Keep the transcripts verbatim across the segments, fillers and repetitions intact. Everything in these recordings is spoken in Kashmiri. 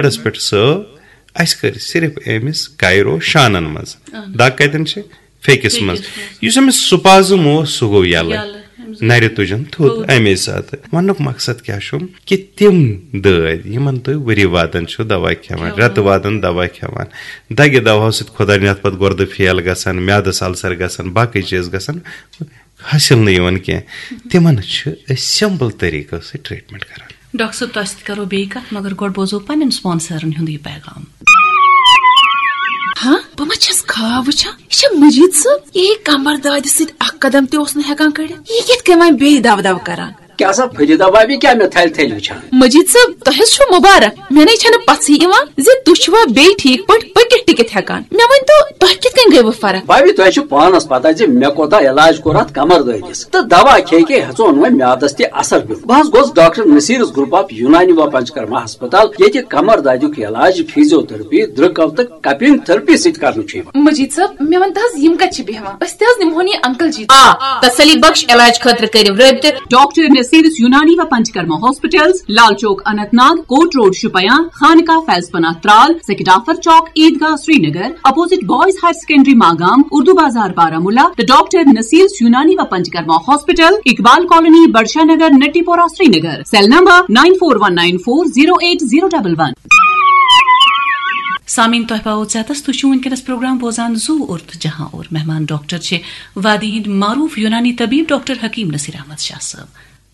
بیڈس پٮ۪ٹھ سٲو، اَسہِ کٔر صرف أمِس کایرو شانن منٛز۔ دگ کتٮ۪ن چھِ؟ فیکِس منٛز۔ فیکِس منٛز۔ یُس أمِس سپازم اوس، سُہ گوٚو یَلہٕ۔ یَلہٕ۔ أمِس نَرِ تُجن تھوٚد تھوٚد۔ اَمے ساتہٕ۔ وَننُک مقصد کیٛاہ چھُم؟ کہِ تِم دٲدۍ، یِمن تُہۍ ؤری وادن چھِو دوا کھٮ۪وان، کھٮ۪وان۔ رٮ۪تہٕ وادن دوا کھٮ۪وان، دگہِ دواہو سۭتۍ خۄدا نِتھ پتہٕ گۄردٕ فیل گژھان، میادس السر گژھان، باقٕے چیٖز گژھان، حٲصِل نہٕ یِوان کینٛہہ۔ تِمن چھِ أسۍ سمپل طریٖقو سۭتۍ ٹریٹمنٹ کران۔ ڈاکٹر صٲب، تۄہہِ سۭتۍ کرو بیٚیہِ کتھ، مگر گۄڈٕ بوزو پننٮ۪ن سپانسرن ہُنٛد یہِ پیغام۔ ہاں، بہٕ ما چھَس خواب وٕچھان؟ یہِ چھا مجید صٲب؟ یہِ کمر دادِ سۭتۍ اکھ قدم تہِ اوس نہٕ ہٮ۪کان کٔڑِتھ۔ یہِ کِتھ کٔنۍ وۄنۍ بیٚیہِ دب دب کران؟ کیٛاہ سا فرید آبادی کیٛاہ مےٚ تھلہِ تھلہِ وٕچھان؟ مجید صٲب، تۄہہِ حظ چھُو مُبارک۔ مےٚ نے چھَنہٕ پژھٕے یِوان زِ تُہۍ چھِوا بیٚیہِ ٹھیٖک پٲٹھۍ پٔکِتھ ٹِکِتھ ہٮ۪کان۔ مےٚ ؤنۍ تو، تۄہہِ کِتھ کٔنۍ گٔیوٕ فرق؟ بھابھی، تۄہہِ چھُ پانس پتہ زِ مےٚ کوٗتاہ علاج کوٚر اتھ کمر دٲدِس، تہٕ دوا کھے کھے ہیژون وۄنۍ میادس تہِ اثر پیوٚو۔ بہٕ حظ گوس ڈاکٹر نصیرس گروپ آف یونانی و پنچکرما ہسپتال، ییٚتہِ کمر دادیُک علاج فیزیو تھراپی، درٛکو تہٕ کپنگ تھراپی سۭتۍ کرنہٕ چھُ یِوان۔ مجید صٲب، مےٚ ون تہٕ حظ، یِم کتہِ چھِ بیہوان؟ أسۍ تہِ حظ نِمہون یہِ انکل جی۔ آ، تسلی بخش علاج خٲطرٕ کٔرِو رٲبطہٕ۔ ڈاکٹر نصیرس یونانی و Panchakarma hospitals, Lal Chowk Anantnag, court road Shopian, Khanqah Faiz Panah Tral, Sekidafar Chowk, Eidgah Srinagar, opposite boys higher secondary Magam, Urdu Bazaar Baramulla, تہٕ ڈاکٹر نصیرس یونانی و Panchakarma hospital, Iqbal colony, Badshah Nagar, Natipora, Srinagar. Cell number nine four one nine four zero eight zero double one. سامعین، تۄہہِ پاوو ژیتس، تُہۍ چھِو وٕنکیٚنس پروگرام بوزان زُو اور تہٕ جہاں اور۔ مہمان ڈاکٹر چھِ وادی ہٕنٛدۍ معروف یونانی طبیب ڈاکٹر حکیم نصیر احمد شاہ صٲب۔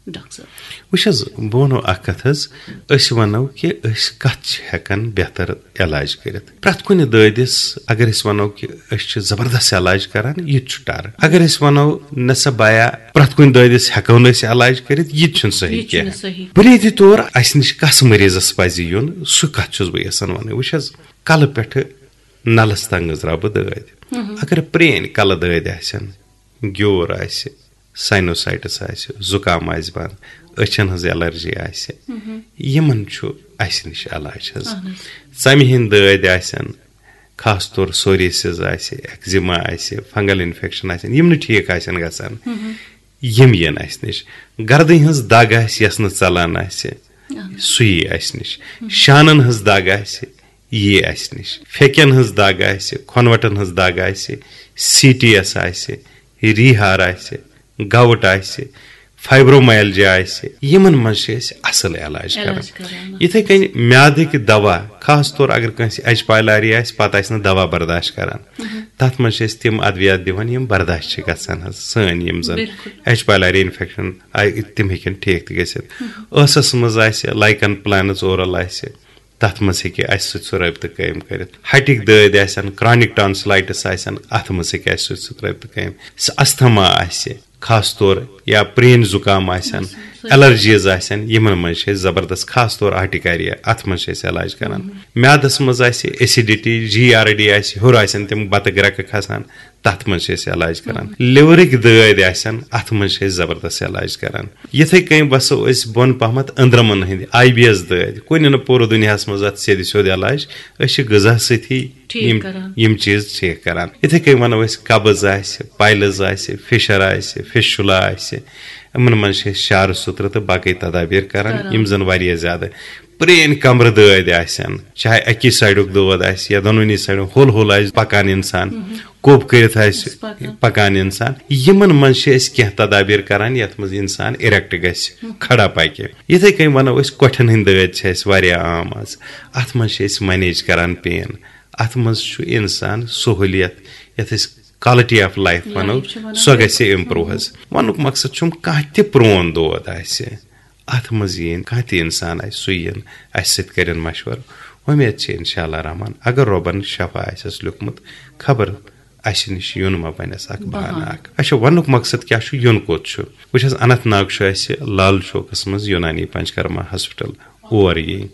ڈاکٹر صٲب۔ وٕچھ حظ، بہٕ وَنو اکھ کتھ حظ، أسۍ وَنو کہِ أسۍ کتھ چھِ ہٮ۪کان بہتر علاج کٔرِتھ۔ پرٛٮ۪تھ کُنہِ دٲدِس اگر أسۍ وَنو کہِ أسۍ چھِ زبردست علاج کران، یہِ تہِ چھُ ٹر۔ اگر أسۍ وَنو، نہ سا بایا، پرٛٮ۪تھ کُنہِ دٲدِس ہٮ۪کو نہٕ أسۍ علاج کٔرِتھ، یہِ تہِ چھُنہٕ صحیح یہِ تہِ چھُنہٕ کینٛہہ۔ صحیح۔ بُنیٲدی طور اَسہِ نِش کس مریضس پزِ یُن، سُہ کتھ چھُس بہٕ یژھان وَنٕنۍ۔ وٕچھ حظ، کلہٕ پٮ۪ٹھٕ نلس تام گٔنزراو بہٕ دٲدۍ۔ اگر پرٛٲنۍ کلہٕ دٲدۍ آسن، گیوٗر آسہِ، ساینوسائٹس آسہِ، زُکام آسہِ بنٛد، أچھن ہٕنٛز الرجی آسہِ، یِمن چھُ اسہِ نِش علاج حظ۔ اہن حظ۔ ژمہِ ہٕنٛدۍ دٲدۍ آسن، خاص طور سوریسز آسہِ، ایکزیما آسہِ، فنگل انفیکشن آسن، یِم نہٕ ٹھیٖک آسن گژھان، یِم یِن اسہِ نِش۔ گردٕنۍ ہٕنٛز دگ آسہِ یۄس نہٕ ژلان آسہِ، سُہ یی اسہِ نِش۔ شانن ہٕنٛز دگ آسہِ، یی اسہِ نِش۔ پھیکٮ۪ن ہٕنٛز دگ آسہِ، کھۄنوٹن ہٕنٛز دگ آسہِ، سی ٹی ایس آسہِ، ریہار آسہِ، گاؤٹ آسہِ، فائبرومائلجیا آسہِ، یِمن منٛز چھِ أسۍ اصل علاج کران۔ علاج کران۔ یِتھے کٔنۍ میادٕکۍ دوا، خاص طور اگر کٲنٛسہِ ایچ پایلاری آسہِ، پتہٕ آسہِ نہٕ دوا برداشت کران، تتھ منٛز چھِ أسۍ تِم ادویات دِوان یِم برداشت چھِ گژھان حظ، سٲنۍ یِم زن بالکل۔ ایچ پایلاری انفیکشن آیہِ، تِم ہیٚکن ٹھیک تہِ گٔژھِتھ۔ ٲسس منٛز آسہِ لائکن پلانس اورل آسہِ، تتھ منٛز ہیٚکہِ اسہِ سۭتۍ سُہ رٲبطہٕ قٲیِم کٔرِتھ۔ ہٹِکۍ دٲدۍ آسن، کرانک ٹانسلائٹس آسن، اتھ منٛز ہیٚکہِ اسہِ سۭتۍ سُہ رٲبطہٕ قٲیِم۔ س-، استھما آسہِ، خاص طور یا پرٛٲنۍ زُکام آسن، الرجیز آسن، یِمن منٛز چھِ أسۍ زبردست، خاص طور آرٹیکاریا، اتھ منٛز چھِ أسۍ علاج کران۔ میادس منٛز آسہِ ایسیڈیٹی، جی آر ڈی آسہِ، ہیوٚر آسن تِم بتہٕ گرٛکہٕ کھسان، تتھ منٛز چھِ أسۍ علاج کران۔ لِورٕکۍ دٲدۍ آسن، اتھ منٛز چھِ أسۍ زبردست علاج کران۔ یِتھے کٔنۍ وسو أسۍ بۄن پہمتھ أنٛدرمن ہٕنٛدۍ آئی بی ایس دٲدۍ، کُنہِ نہٕ پوٗرٕ دُنیاہس منٛز اتھ سیٚدِ سیوٚد علاج، أسۍ چھِ غذا سۭتی ٹھیٖک یِم کران۔ یِم چیٖز ٹھیٖک کران۔ یِتھے کٔنۍ ونو أسۍ قبض آسہِ، پایلز آسہِ، فشر آسہِ، فشولا آسہِ، یِمن منٛز چھِ أسۍ شارٕ سُترٕ تہٕ باقٕے تدابیر کران، کران۔ یِم زن واریاہ زیادٕ پرٛٲنۍ کمرٕ دٲدۍ آسن، چاہے اکی سایڈُک دود آسہِ یا دۄنوٕنی سایڈُک، ہول ہول آسہِ پکان انسان، کوٚب کٔرِتھ آسہِ پکان۔ پکان انسان، یِمن منٛز چھِ أسۍ کینٛہہ تدابیر کران یتھ منٛز انسان ایریکٹ گژھِ، کھڑا پکہِ۔ یِتھے کٔنۍ ونو أسۍ، کۄٹھٮ۪ن ہٕنٛدۍ دٲدۍ چھِ اَسہِ واریاہ عام آز۔ اتھ منٛز چھِ أسۍ مینیج کران پین۔ اتھ منٛز چھُ انسان سہوٗلیت، یتھ أسۍ کالٹی آف لائف ونو، لائف چھِ ونان۔ سۄ گژھِ امپروو حظ۔ ونُک مقصد چھُم، کانٛہہ تہِ پرون دود آسہِ، اتھ منٛز یِن کانٛہہ تہِ انسان آسہِ، سُہ یِن اسہِ سۭتۍ کرن مشورٕ۔ وۄمید چھِ انشاءاللہ رحمان، اگر رۄبن شفا آسٮ۪س لیوٗکھمُت، خبر اسہِ نِش یُن ما بنٮ۪س اکھ بہانہٕ۔ بہانہٕ اکھ۔ اچھا، ونُک مقصد کیٛاہ چھُ، یُن کوٚت چھُ؟ وٕچھ حظ، اننت ناگ چھُ اسہِ لال چوکس منٛز یونانی پنچکرما ہاسپٹل، اور یی۔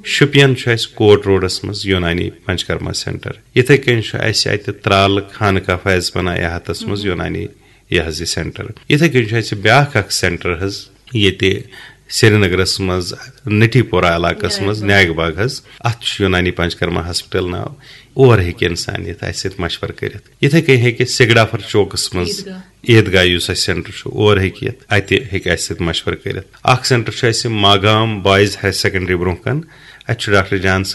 شُپین چھُ اسہِ کوٹ روڈس منٛز یونانی پنچکرما سینٹر۔ یِتھے کٔنۍ چھُ اسہِ اتہِ ترالہٕ خانقاہ فیض پناہ یہاتس منٛز یونانی یہِ حظ یہِ سینٹر۔ یِتھے کٔنۍ چھُ اسہِ بیٛاکھ اکھ سینٹر حظ، ییٚتہِ سرینگرس منٛز نٹی پورہ علاقس منٛز نیگ باغ۔ نیگ باغ حظ، اتھ چھُ یونانی پنچکرما ہاسپٹل ناو۔ اور ہیٚکہِ انسان یِتھ، اسہِ سۭتۍ مشورٕ کٔرِتھ۔ یِتھے کٔنۍ ہیٚکہِ سگڈافر چوکس منٛز عیدگاہ۔ عیدگاہ یُس اسہِ سینٹر چھُ، اور ہیٚکہِ یِتھ، اتہِ ہیٚکہِ اسہِ سۭتۍ مشورٕ کٔرِتھ۔ اکھ سینٹر چھُ اسہِ ماگام بوائز ہائر سیکنڈری برونٛہہ کن، اَتہِ چھُ ڈاکٹر جان